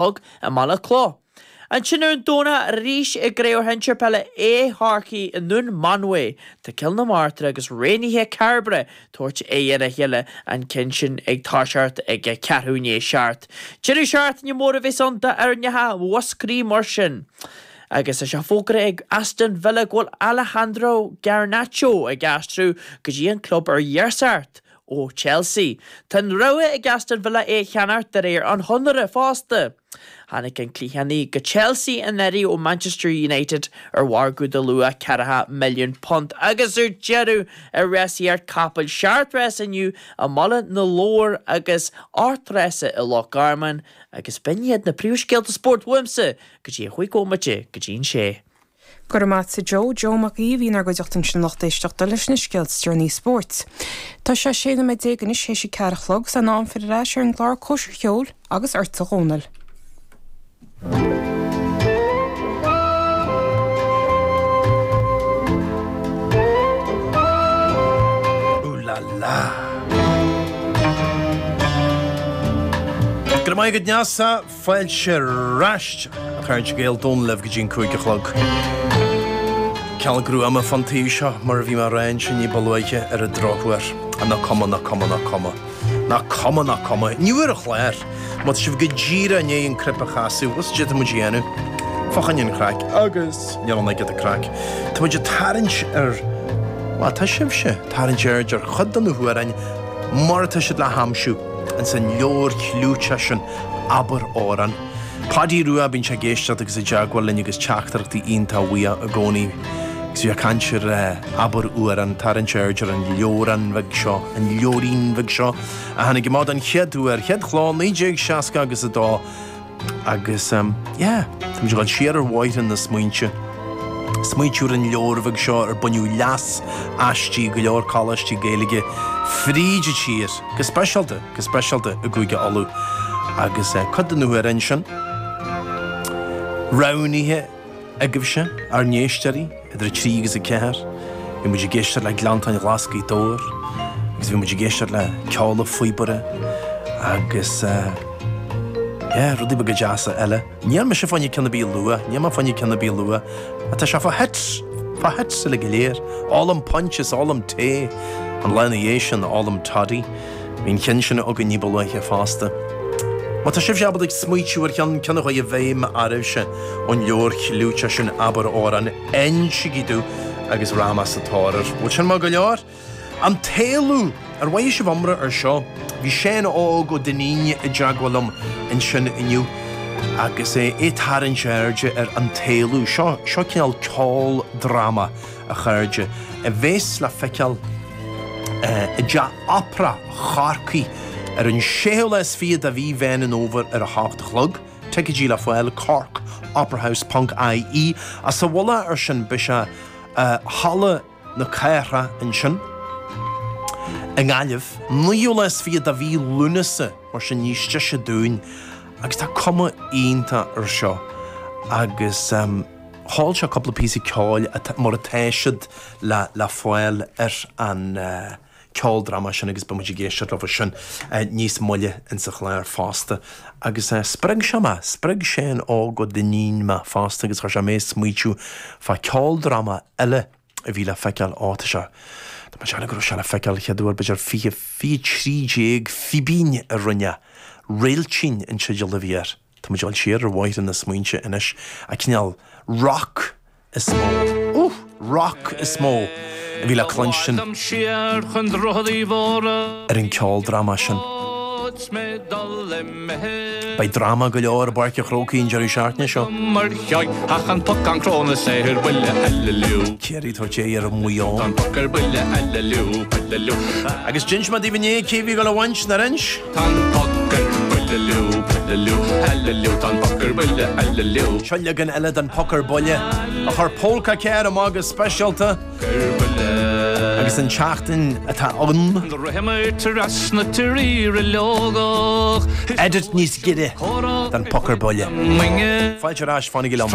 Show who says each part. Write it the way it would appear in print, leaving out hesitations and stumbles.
Speaker 1: Chlog i mBaile Clough. Ansin ar an Domhnach arís i gCraobh Shinsir Peile A Chorcaí i nDún Mánmhaí, tá Cill na Martra agus Raonaithe Cairbre ag tabhairt aghaidh ar a chéile, an ceann sin ag toiseacht ag a ceathrú i ndiaidh a seacht. Deireadh seachtaine mór a bheas ann d'fhoirneacha Mhúscraí mar sin. Agus tá sé fógartha ag Aston Villa go bhfuil Alejandro Garnacho ag aistriú go dtí an club ar iasacht ó Chelsea. Tá an rogha ag Aston Villa é a cheannacht de réir an chonartha fosta. Tháinig an cliathánaí go Chelsea anuraidh ó Manchester United ar mhargadh de luach ceathracha milliún punt agus ar deireadh i rásaíocht capaill seacht rás inniu i mBaile na Lobhar agus ocht rása i Loch Garman agus b'in iad na príomhscéalta spóirt uaimse go dtí an chúig bhomaite go dtí an sé.
Speaker 2: Go raibh maith a't a Joe. Joe Mac Aoidh a bhí inár gcuideachta ansin a lucht éisteachta leis na scéalta is deireanaí spóirt. Tá sé 16 nóiméad anois théis a ceathair a chlog 's in am filleadh ar ais ar an gclár Cóisir Cheoil agus ortsa a Dhónaill.
Speaker 3: Ooh la la. Go raibh maith agat Neasa. Fáilte ar ais, a chairde Gael, Dónal libh go dtí an 5 a chlog. Cineál gruama fán taobh seo, mar a bhí mé a rá ansin ní ba luaithe ar an drochuair. Nach cuma, nach cuma, nach cuma. Nach cuma, nach cuma. Inniu ar an chlár, má tá sibh go díreach i ndiaidh an cnaipe a chasadh, bhfuil 's cad é atá muid a dhéanamh? Fá choinne an chraic, agus níl ann ach giota craic. Tá muid ag tarraingt ar, bhuel, tá sibhse ag tarraingt aird ar chuid de na hamhráin mar atá siad le haimsiú ins an leabhar clúiteach sin Abair Amhrán. Páidí Rua, bíonn sé ag éisteacht agus i dteagmháil linn agus teachtaireachtaí iontach uaidh i gcónaí. Agus bhí ag caint ar Abair Amhrán, tarraingt aird ar an leabhrán bheag seo, an leabhairín bheag seo a tháinig amach don chéad uair, chéad chló 1960 agus a dó. Agus yeah, tá muid ag dul siar ar bhóithre na smaointe. Smaointiú ar an leabhar bheag seo ar baineadh leas aisti go leor coláistí Gaeilge fríd an tír, go speisialta, go speisialta i gCúige Uladh. Agus cuid de na hamhráin sin roghnaithe agaibhse, ár n-éisteoirí, idir 3 agus 4. Bhí muid ag éisteacht le Gleanntáin Ghlas Gaoth Dobhair agus bhí muid ag éisteacht le Ceol an Phíobaire agus yeah, rudaí beaga deasa eile. Níl mise fá choinne ceann ar bith a lua, níl mé fá choinne ceann ar bith a lua, ach tá sé fá hits, fá hits uilig go léir. Ólaim punch is ólaim tae, an lá ina dhiaidh sin, ólaim toddy. Bhí an ceann sin againn ní ba luaithe fosta. Má tá sibhse ábalta ag smaoitiú ar cheann, ceann a chuaigh i bhfeidhm oraibhse ón leabhar chlúiteach sin Abair Amhrán, insígí domh agus rachaidh mé sa tóir air. Bhfuil sin maith go leor? An tÉalú! Ar mhothaigh sibh iomrá ar seo? Bhí Seán Óg Ó Duinnín i dteagmháil liom ansin inniu agus é ag tarraingt airde ar An tÉalú. Seo, seo cineál ceoldráma. a chairde, a bheas le feiceáil i dTeach Opera Chorcaí ar an séú lá is fiche de mhí Mheán an Fhómhair ar a hocht a chlog. Ticéidí le fáil, corkoperahouse ponc ie. Ach sa mhullach ar sin beidh sé i Halla na Cathrach ansin i nGaillimh, naoú lá is fiche de mhí Lúnasa, mar sin níos deise dúinn agus tá cuma iontach ar seo agus. Sheol sé cúpla píosa ceoil mar atá siad le le fáil ar an ceoldráma sin agus beidh muid ag éisteacht leo sin níos moille insa chlár fosta. Agus spreag sé mé, spreag Seán Óg Ó Duinnín mé fosta agus chuir sé mé ag smaoitiú fá ceoldráma eile a bhí le feiceáil, ó tá sé, tá mé ag déanamh go raibh sé le feiceáil chéad uair b'fhéidir 20, 13 Fíbín a rinne, Réiltín an teideal a bhí air. Tá muid ag dul siar ar bhóithre na smaointe anois, a cineál rock is mó, ooh, rock is mó a bhí le cluinstin ar an ceoldráma sin. Beidh dráma go leor i bPáirc an Chrócaigh an deireadh seachtaine seo. Ciarraí ag tabhairt aghaidh ar Mhaigh Eo. Agus d'inis mé daoibh inné cé a bhí ag dul a bhaint, nár inis?
Speaker 4: Tá an poc ar buile liú, buile liú, heililiú, tá an poc ar buile, heililiú.
Speaker 3: Seo leagan eile den Poc ar Buile a chuir Pólca Care amach go speisialta agus an tseachtain atá ann. Edit níos giorra den Poc ar Buile. Fáilte ar ais, fanaigí liom.